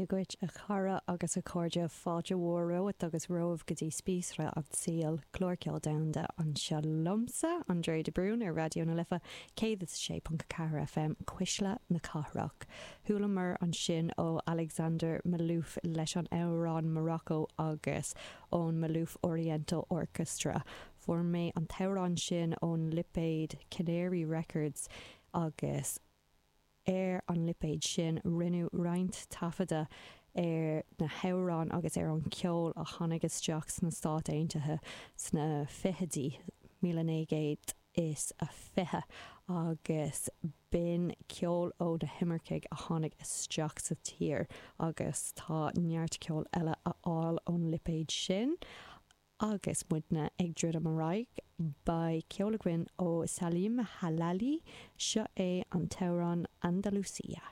Dia dhuit a chara agus a chairde, fáilte mhór romhat agus romhaibh go dtí Spíosra an tSaoil, clár ceoil domhanda anseo liomsa, Andrea de Brún ar Raidió na Life 106.4 FM, Cuisle na Cathrach. Chualamar ansin ó Alexander Malouf leis an amhrán Morocco agus ón Malouf Oriental Orchestra. Fuair mé an t-amhrán sin ón lipéad Canary Records agus. Ar an lipéad sin, rinneadh roinnt taifeadadh ar na hamhráin agus ar an cheol a tháinig isteach sna Stáit Aontaithe sna fichidí, 1920, agus b'in ceol ó na himircigh a tháinig isteach sa tír agus tá neart ceoil eile a fháil ón lipéad sin. Agus muidne ag druidim ar aghaidh, beidh ceol againn ó Salim Halali, seo é an t-amhrán Andalusia.